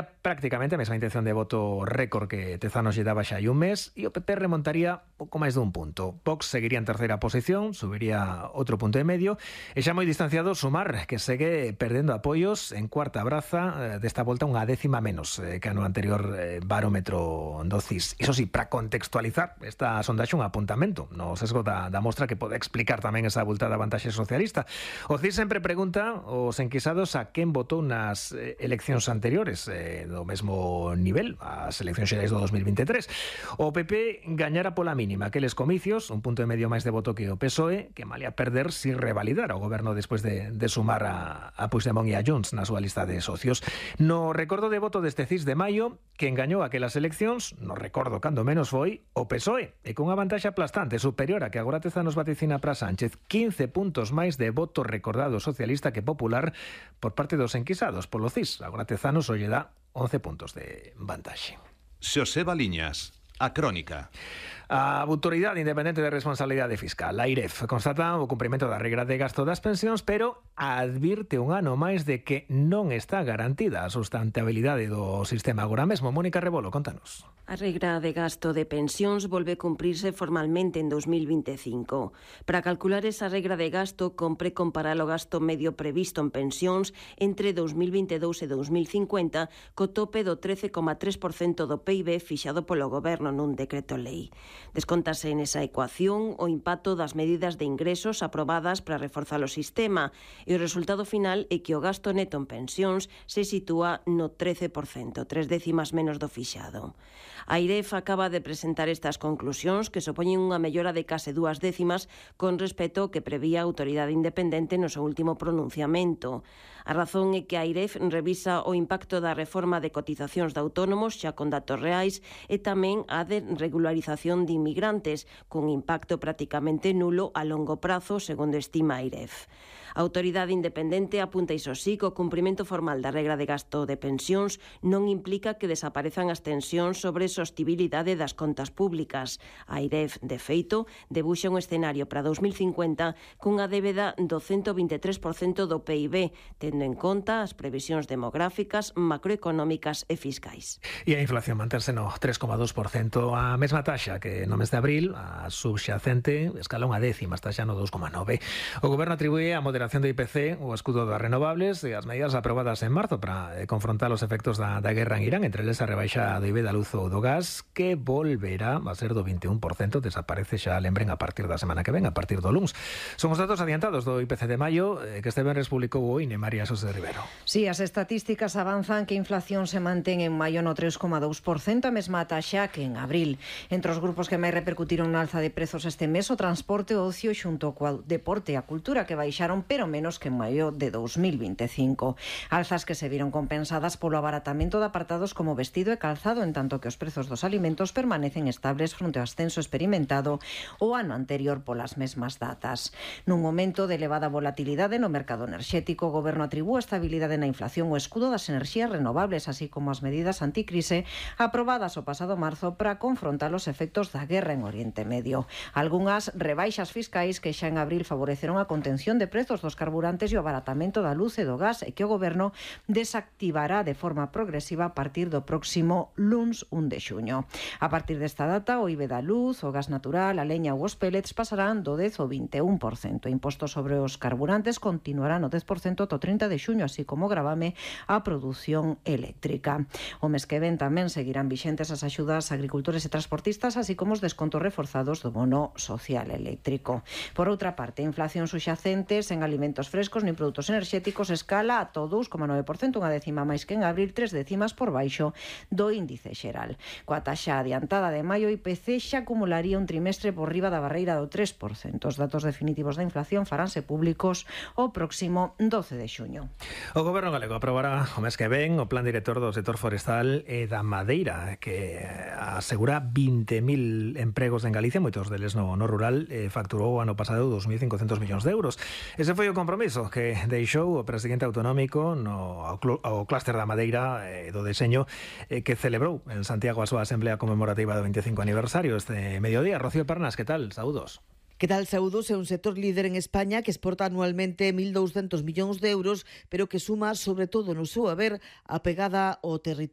Prácticamente a mesma intención de voto récord que Tezanos lle daba xa hai un mes, e o PP remontaría pouco máis dun punto. Vox seguiría en terceira posición, subiría outro punto e medio, e xa moi distanciado Sumar, que segue perdendo apoios en cuarta braza, desta volta unha décima menos que no anterior barómetro do CIS. Iso sí, para contextualizar esta sondaxe un apuntamento no sesgo da mostra que pode explicar tamén esa abultada vantaxe socialista. O CIS sempre pregunta aos enquisados a quen votou nas eleccións anteriores, do mesmo nivel, as eleccións xerais do 2023. O PP gañara pola mínima aqueles comicios, un punto e medio máis de voto que o PSOE, que malia perder si revalidar o goberno despois de sumar a Puigdemont e a Junts na súa lista de socios. No recordo de voto deste CIS de maio, que engañou aquelas eleccións, no recordo cando menos foi, o PSOE, e cunha vantaxe aplastante superior a que agora Tezanos vaticina para Sánchez, 15 puntos máis de voto recordado socialista que popular por parte dos enquisados polo CIS. Agora Tezanos o lle dá 11 puntos de vantaxe. Xoseba Liñas, A Crónica. A Autoridade Independente de Responsabilidade Fiscal, a AIREF, constata o cumprimento da regra de gasto das pensións, pero advirte un ano máis de que non está garantida a sustentabilidade do sistema agora mesmo. Mónica Rebolo, contanos. A regra de gasto de pensións volve cumprirse formalmente en 2025. Para calcular esa regra de gasto, compre comparar o gasto medio previsto en pensións entre 2022 e 2050 co tope do 13,3% do PIB fixado polo Goberno nun decreto lei. Descóntase nesa ecuación o impacto das medidas de ingresos aprobadas para reforzar o sistema e o resultado final é que o gasto neto en pensións se sitúa no 13%, 3 décimas menos do fixado. A AIREF acaba de presentar estas conclusións que supoñen unha mellora de case 2 décimas con respecto ao que prevía a Autoridade Independente no seu último pronunciamento. A razón é que a AIREF revisa o impacto da reforma de cotizacións de autónomos xa con datos reais e tamén a de regularización de inmigrantes, con impacto prácticamente nulo a longo prazo, segundo estima a AIREF. A Autoridade Independente apunta iso sí que o cumprimento formal da regra de gasto de pensións non implica que desaparezan as tensións sobre sostibilidade das contas públicas. A AIREF, de feito, debuxa un escenario para 2050 cunha débeda do 123% do PIB, tendo en conta as previsións demográficas, macroeconómicas e fiscais. E a inflación manterse no 3,2%, a mesma taxa que no mes de abril, a subxacente escala unha décima, está xa no 2,9. O Goberno atribúe a moderación do IPC, o escudo das renovables e as medidas aprobadas en marzo para confrontar os efectos da guerra en Irán, entre eles a rebaixa do IBE da luz ou do gas, que volverá a ser do 21%, desaparece xa, lembren, a partir da semana que ven, a partir do luns. Son os datos adiantados do IPC de maio que este venres publicou o INE. María Xosé Rivero. Sí, as estatísticas avanzan que a inflación se mantén en maio no 3,2%, a mesma taxa que en abril. Entre os grupos que máis repercutiron na alza de prezos este mes, o transporte, o ocio xunto co deporte e a cultura, que baixaron pero menos que en maio de 2025. Alzas que se viron compensadas polo abaratamento de apartados como vestido e calzado, en tanto que os prezos dos alimentos permanecen estables fronte ao ascenso experimentado o ano anterior polas mesmas datas. Nun momento de elevada volatilidade no mercado enerxético, o Goberno atribúe a estabilidade na inflación o escudo das enerxías renovables, así como as medidas anticrise aprobadas o pasado marzo para confrontar os efectos da guerra en Oriente Medio. Algunhas rebaixas fiscais que xa en abril favoreceron a contención de prezos dos carburantes e o abaratamento da luz e do gas, e que o Goberno desactivará de forma progresiva a partir do próximo luns 1 de xuño. A partir desta data, o IBE da luz, o gas natural, a leña ou os pellets pasarán do 10 ao 21%. O imposto sobre os carburantes continuará no 10% ata o 30 de xuño, así como gravame a produción eléctrica. O mes que ven tamén seguirán vixentes as axudas a agricultores e transportistas, así como os descontos reforzados do bono social eléctrico. Por outra parte, a inflación subxacente sen alimentos frescos nin produtos enerxéticos escala a 2,9%, unha décima máis que en abril, 3 décimas por baixo do índice xeral. Coa taxa adiantada de maio, o IPC xa acumularía un trimestre por riba da barreira do 3%. Os datos definitivos da inflación faránse públicos o próximo 12 de xuño. O Goberno galego aprobará o mes que ven o Plan Director do sector forestal e da madeira, que asegura 20.000 empregos en Galicia, moitos deles no rural, facturou o ano pasado 2.500 millóns de euros. Ese foi o compromiso que deixou o presidente autonómico ao clúster da madeira e do deseño, que celebrou en Santiago a súa asamblea conmemorativa do 25 aniversario este mediodía. Rocío Pernas, que tal? Saúdos. Que tal, saúdos? É un sector líder en España que exporta anualmente 1.200 millóns de euros, pero que suma, sobre todo no seu haber, a pegada ao territorio.